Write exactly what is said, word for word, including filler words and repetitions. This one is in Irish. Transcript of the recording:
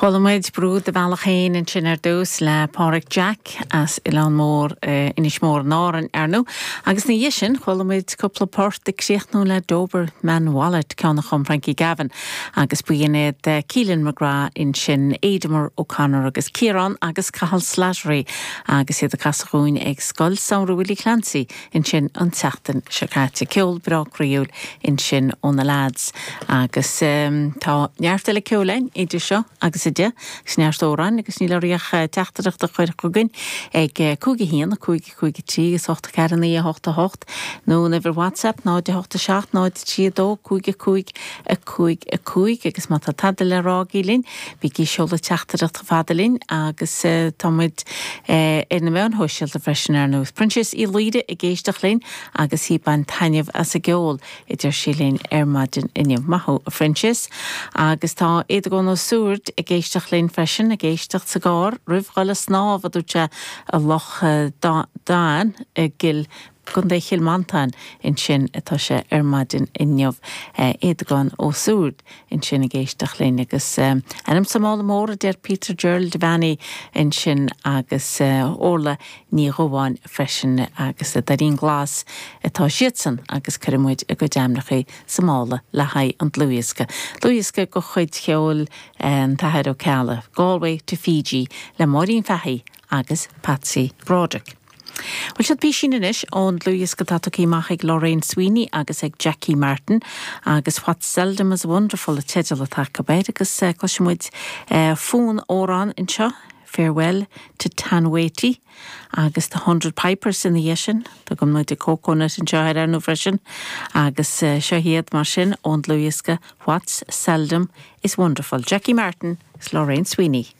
Chuala muid Brú do Bhealach Féin ansin ar dtús le Pádraig Jack as Oileán Mór uh, Inis Mór in Árainn ar ndóigh, agus ina dhiaidh sin chuala muid cúpla port ag críochnú le Doberman Wallet ceann a chum Frankie Gavin agus b'in iad uh, Keelan McGrath ansin Aidemer O'Connor agus Ciarán agus Cathal Slattery agus iad ag casadh dúinn ag Scoil Samhraidh Willie Clancy ansin an tseachtain seo caite ceol breá croíúil ansin ó na lads agus um, tá neart eile ceoil againn idir seo agus a deich agus neart amhrán agus níl oraibh ach teachtaireacht a chur chugainn ag cúig a haon cúig cúig trí agus ocht ceathair naoi a hocht a hocht nó uimhir WhatsApp náid a hocht a seacht náid trí dó cúig a cúig a cúig a cúig agus má tá tada le rá agaibh linn bígí ag seoladh teachtaireacht fada linn agus uh, táimid uh, ar na meáin shóisialta freisin ar nós. Proinsias Uí Laoire ag éisteacht linn agus í ag baint taitneamh as an gceol a deir sí linn ar maidin inniu maith thú a Phroinsias agus tá Éadgón Ó Súird ag éisteacht linn freisin ag éisteacht sa gcarr roimh dhul ag snámh a dúirt sé i Loch Dan i gCill Contae Chill Mhantáin ansin atá sé ar maidin inniu Éadgán Ó Súird ansin ag éisteacht linn agus ainm sa mála mór a deir Peter Gerald Devaney ansin agus Orla Ní Dhubháin freisin agus a Darín Glas atá siadsan agus cuirfimid a gcuid ainmneacha sa mála le haghaidh an dlúthdhiosca. Dlúthdhiosca de chuid cheol an tAthair Ó Ceallaigh, Galway to Fiji le Máirín Fahey agus Patsy Broderick. Bhuel seo písín anois ón dlúthdhiosca atá tugtha amach ag Lorraine Sweeney agus ag Jackie Martin agus What's Seldom is Wonderful a teideal atá air agus uh, cloisfimid uh, fonn-amhrán anseo. Farewell to Tanwaity agus the Hundred Pipers ina dhiaidh sin Tá go mna de coconut anseo ar ndóigh freisin agus uh, seo hiad mar sin ón dlúthdhiosca What's Seldom is Wonderful. Jackie Martin is Lorraine Sweeney.